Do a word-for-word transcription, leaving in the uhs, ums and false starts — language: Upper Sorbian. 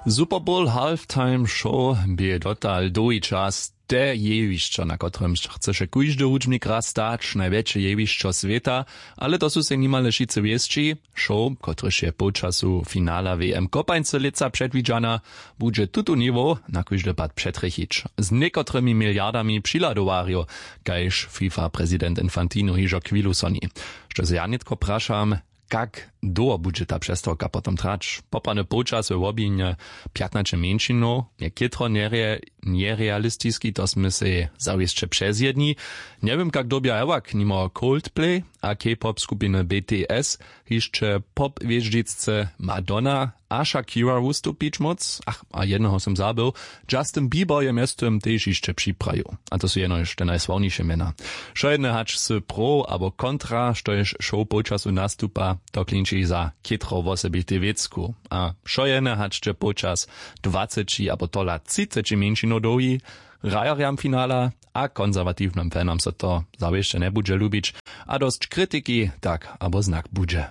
Superbowl halftime show bě dotal dołhi čas te jewišćo, na kotrymž chcyše kóždy hudźbnik raz stać, najwjetše jewišćo swěta. Ale to su sej nimale wšitcy wěsći. Show, kotryž je połčasu finala w m kopańcy lětsa předwidźana, budźe tutu niwow na kóždy pad přetrjechić z někotrymi miliardami přihladowarjow, kaž fifa prezident infantino hižo chwilu soni. Štož ja nětko prašam, kak dołho budźe ta přestawka potom trać? Poprawny połčas we wobinje pjatnaće mjeńšinow je chětro njerealistiski, to smy sej zawěsće přezjedni. Njewěm, kak dyrbja hewak nimo coldplay a k-pop skupiny bts hišće pop hwěždźicce madonna a shakira wustupić móc. Ach, a jedneho sym zabył. Justin bieber je mjeztym tež hišće připrajił. A to su jenož te najsławniše mjena. Wšojedne hač sy pro abo kontra, štož show połčasu nastupa, to klinči za chětro wosebitej wěcku. A wšojedne hač će połčas dwaceći abo tola třiceći mjeńšinow dołhi, hrajerjam finala a konserwatiwnym fanam so to zawěsće njebudźe lubić. A dosć kritiki tak abo znak budźe.